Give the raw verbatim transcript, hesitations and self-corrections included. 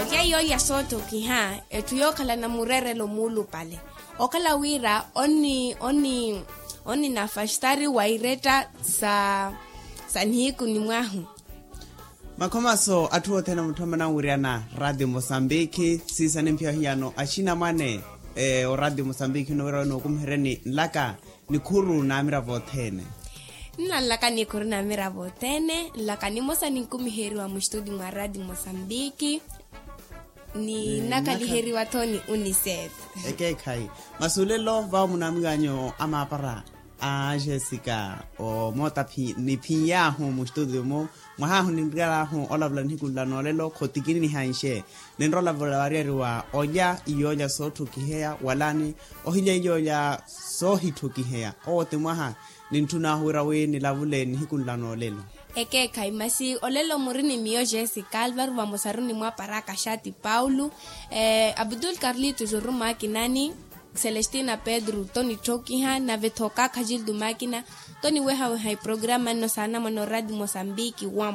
Ohiya yooya soottokiha etthu yookhalana mureerelo muulupale, okhala wira onni onni onnina fastari wa iretta sa sa nihiku ni mwahu. Makhomaso atthu othene mutthomana nwiriyana ratio mosambiki siisani mphiya ohiyano axinamwane. O ratio mosambiki onowira wi nookumiheryeni nlaka nikhuru n'amiravo othene. Nna nlaka nikhuru n'amiravo othene nlaka nimosa ninkumiheriwa mustudi mwa ratio mosambiki. Ni nnakaliheriwa-tho ni unicef. Ekeekhayi. Masi olelo vawo munaamiwanyu amaapara a jessica omoota ni phiny'ahu mustudi-mu. Mwahahu ninriyal'ahu olavula nihiku nla noolelo khotikini nihanxe. Ninrolavula variyari wa olya iyoolya sootthokiheya walani ohilya iyoolya soohitthokiheya owo ti mwaha. Nintthun'ahu wira wi nilavule nihiku nla noolelo. Ekeekhayi masi olelo muri ni miyo jessica alvaro vamosaru ni mwaparaka xati paulo, abdul carlitos orumakinani, celestina pedro tonitthokiha nave-tho kaakha jildo makina. Toniwehaweha eprograma nno saanamwane oradi mosambiki wa